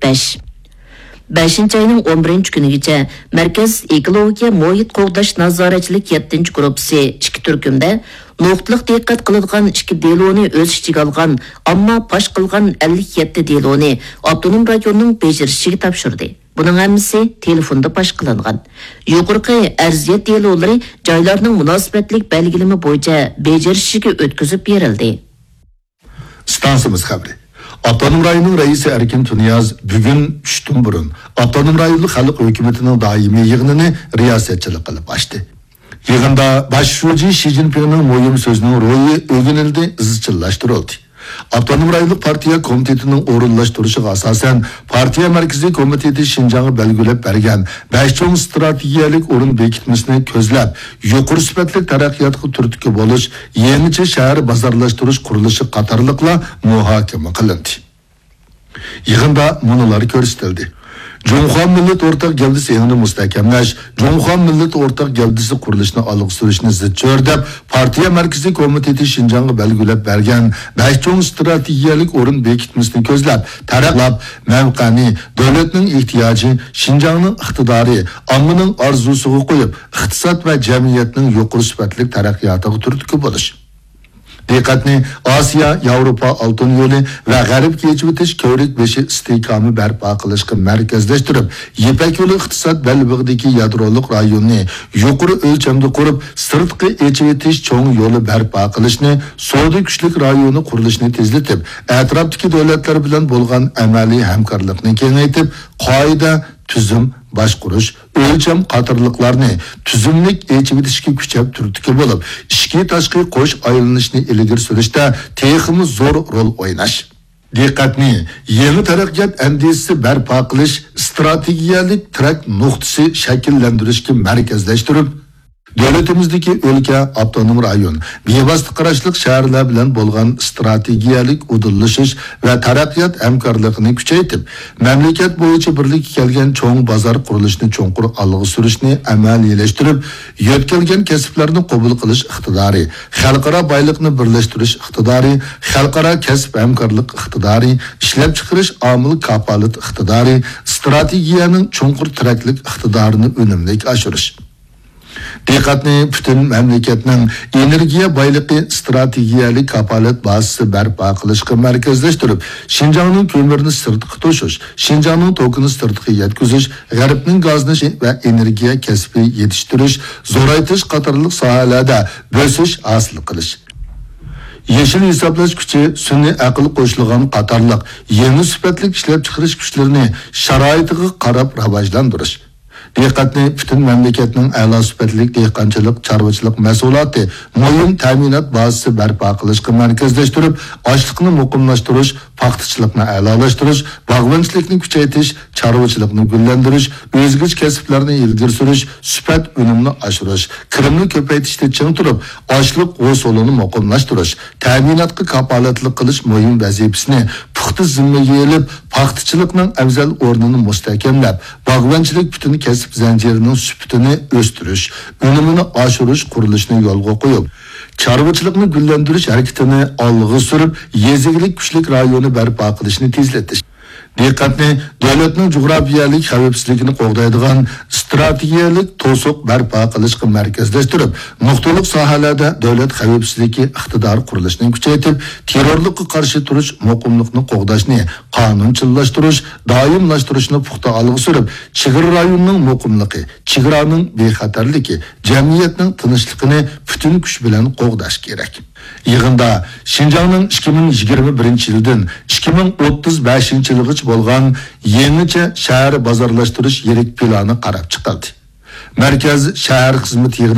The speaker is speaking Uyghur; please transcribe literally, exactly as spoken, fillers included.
بەش. بەشىنچى ئاينىڭ ئون بىرىنچى كۈنىگىچە مەركەز ئېكولوگىيە مۇھىت قوغداش نازارەتچىلىك يەتتىنچى گۇرۇپپىسى ئىككى تۈركۈمدە نۇقتىلىق دىققەت قىلىدىغان ئىككى دېلونى ئۆز ئىچىگە ئالغان، ئامما پاش قىلغان ئەللىك يەتتە دېلونى ئاپتونوم رايوننىڭ بېجىرىشىگە تاپشۇردى. بۇنىڭ ھەممىسى تېلېفوندا پاش قىلىنغان. يۇقىرىقى ئەرزىيەت دېلولىرى جايلارنىڭ مۇناسىۋەتلىك بەلگىلىمە بويىچە بېجىرىشىگە ئۆتكۈزۈپ بېرىلدى. ئىستانسىمىز خەۋىرى. ئاپتونوم رايوننىڭ رەئىسى ئەركىن تۇنىياز بۈگۈن چۈشتىن بۇرۇن ئاپتونوم رايونلۇق خەلق ھۆكۈمىتىنىڭ دائىمىي يىغىنىنى رىياسەتچىلىك قىلىپ ئاچتى. يىغىندا باش شۇجى شى جىنپىڭنىڭ مۇھىم سۆزىنىڭ روھى ئۆگىنىلدى، ئىزچىللاشتۇرۇلدى. ئاپتونوم رايونلۇق پارتىيە كومىتېتىنىڭ ئورۇنلاشتۇرۇشىغا ئاساسەن، پارتىيە مەركىزىي كومىتېتى شىنجاڭغا بەلگىلەپ بەرگەن بەش چوڭ ئىستراتېگىيەلىك ئورۇن بېكىتمىسىنى كۆزلەپ، يۇقىرى سۈپەتلىك تەرەققىياتقا تۈرتكە بولۇش، يېڭىچە شەھەر بازارلاشتۇرۇش قۇرۇلۇشى قاتارلىقلار مۇھاكىمە قىلىندى. يىغىندا مۇنۇلار كۆرسىتىلدى: جۇڭخۇا مىللەت ئورتاق گەۋدىسى ئېڭىنى مۇستەھكەملەش، جۇڭخۇا مىللەت ئورتاق گەۋدىسى قۇرۇلۇشىنى ئالغا سۈرۈشنى زىچ چۆرىدەپ، پارتىيە مەركىزىي كومىتېتى شىنجاڭغا بەلگىلەپ بەرگەن بەش چوڭ ئىستراتېگىيەلىك ئورۇن بېكىتمىسىنى كۆزلەپ، تەرەققىيات مەۋقەنى دۆلەتنىڭ ئېھتىياجى، شىنجاڭنىڭ ئىقتىدارى، ئاممىنىڭ ئارزۇسىغا قويۇپ، ئىقتىساد ۋە جەمئىيەتنىڭ يۇقىرى سۈپەتلىك تەرەققىياتىغا تۈرتكە بولۇش. دىققەتنى ئاسىيا، ياۋروپا ئالتۇن يولى ۋە غەربكە ئېچىۋېتىش كۆۋرۈك بېشى ئىستىھكامى بەرپا قىلىشقا مەركەزلەشتۈرۈپ، يىپەك يولى ئىقتىساد بەلبېغىدىكى يادرولۇق رايوننى يۇقىرى ئۆلچەمدە قۇرۇپ، سىرتقى ئېچىۋېتىش چوڭ يولى بەرپا قىلىشنى، سودا كۈچلۈك رايونى قۇرۇلۇشىنى تېزلىتىپ، ئەتراپتىكى دۆلەتلەر بىلەن بولغان ئەمەلىي ھەمكارلىقنى كېڭەيتىپ، قائىدە، تۈزۈم، باشقۇرۇش، ئۆلچەم قاتارلىقلارنى تۈزۈملۈك ئېچىۋېتىشكە كۈچەپ تۈرتكە بولۇپ، ئىچكى تاشقى قوش ئايلىنىشنى ئىلگىرى سۈرۈشتە تېخىمۇ زور رول ئويناش. دىققەتنى يېڭى تەرەققىيات ئەندىزىسى بەرپا قىلىش، ئىستراتېگىيەلىك تىرەك نۇقتىسى شەكىللەندۈرۈشكە مەركەزلەشتۈرۈپ، دۆلىتىمىزدىكى ئۆلكە، ئاپتونوم رايون، بىۋاسىتە قاراشلىق شەھەرلەر بىلەن بولغان ئىستراتېگىيەلىك ئۇدۇللىشىش ۋە تەرەققىيات ھەمكارلىقىنى كۈچەيتىپ، مەملىكەت بويىچە بىرلىككە كەلگەن چوڭ بازار قۇرۇلۇشىنى چوڭقۇر ئالغا سۈرۈشنى ئەمەلىيلەشتۈرۈپ، يۆتكەلگەن كەسىپلەرنى قوبۇل قىلىش ئىقتىدارى، خەلقئارا بايلىقنى بىرلەشتۈرۈش ئىقتىدارى، خەلقئارا كەسىپ ھەمكارلىق ئىقتىدارى، ئىشلەپچىقىرىش ئامىل كاپالىتى ئىقتىدارى، ئىستراتېگىيەنىڭ چوڭقۇر تىرەكلىك ئىقتىدارىنى ئۈنۈملۈك ئاشۇرۇش. دىققەتنى پۈتۈن مەملىكەتنىڭ ئېنېرگىيە بايلىقى ئىستراتېگىيەلىك كاپالەت بازىسى بەرپا قىلىشقا مەركەزلەشتۈرۈپ، شىنجاڭنىڭ كۆمۈرنى سىرتقا توشۇش، شىنجاڭنىڭ توكىنى سىرتقا يەتكۈزۈش، غەربنىڭ گازنى ۋە ئېنېرگىيە كەسپى يېتىشتۈرۈش، زورايتىش قاتارلىق ساھەلەردە بۆسۈش ھاسىل قىلىش. يېشىل ھېسابلاش كۈچى، سۈنئىي ئەقىل قوشۇلغان قاتارلىق يېڭى سۈپەتلىك ئىشلەپچىقىرىش كۈچلىرىنى شارائىتىغا قاراپ راۋاجلاندۇرۇش. دىققەتنى پۈتۈن مەملىكەتنىڭ ئەلا سۈپەتلىك دېھقانچىلىق، چارۋىچىلىق مەھسۇلاتى مۇھىم تەمىنات بازىسى بەرپا قىلىشقا مەركەزلەشتۈرۈپ، ئاشلىقنى مۇقىملاشتۇرۇش، پاختىچىلىقنى ئەلالاشتۇرۇش، باغۋەنچىلىكنى كۈچەيتىش، چارۋىچىلىقنى گۈللەندۈرۈش، ئۆزگىچە كەسىپلەرنى ئىلگىرى سۈرۈش، سۈپەت ئۈنۈمنى ئاشۇرۇش، كىرىمنى كۆپەيتىشتە چىڭ تۇرۇپ، ئاشلىق ھوسۇلىنى مۇقىملاشتۇرۇش، تەمىناتقا كاپالەتلىك قىلىش مۇھىم ۋەزىپىسىنى پۇختا زىممىگە ئېلىپ، پاختىچىلىقنىڭ ئەۋزەل ئورنىنى مۇستەھكەملەپ، باغۋەنچىلىك پۈتۈن كەسىپ زەنجىرىنىڭ سۈپىتىنى ئۆستۈرۈش، ئۈنۈمىنى ئاشۇرۇش قۇرۇلۇشىنى يولغا قويۇپ، چارۋىچىلىقنى گۈللەندۈرۈش ھەرىكىتىنى ئالغا سۈرۈپ، يېزا ئىگىلىك كۈچلۈك رايونى بەرپا قىلىشنى تېزلىتىش. دىققەتنى دۆلەتنىڭ جۇغراپىيەلىك خەۋپسىزلىكىنى قوغدايدىغان ئىستراتېگىيەلىك توسۇق بەرپا قىلىشقا مەركەزلەشتۈرۈپ، نۇقتىلىق ساھەلەردە دۆلەت خەۋپسىزلىكى ئىقتىدارى قۇرۇلۇشىنى كۈچەيتىپ، تېررورلۇققا قارشى تۇرۇش مۇقىملىقنى قوغداشنى قانۇنچىللاشتۇرۇش، دائىملاشتۇرۇشنى پۇختا ئالغا سۈرۈپ، چېگرا رايونىنىڭ مۇقىملىقى، چېگرانىڭ بىخەتەرلىكى، جەمئىيەتنىڭ تىنچلىقىنى پۈتۈن كۈچ بىلەن قوغداش كېرەك. يىغىندا شىنجاڭنىڭ ئىككى مىڭ يىگىرمە بىرىنچى يىلدىن ئىككى مىڭ ئوتتۇز بەشىنچى يىلغىچە بولغان يېڭىچە شەھەر بازارلاشتۇرۇش يىرىك پىلانى قاراپ چىقىلدى. مەركەز شەھەر خىزمىتى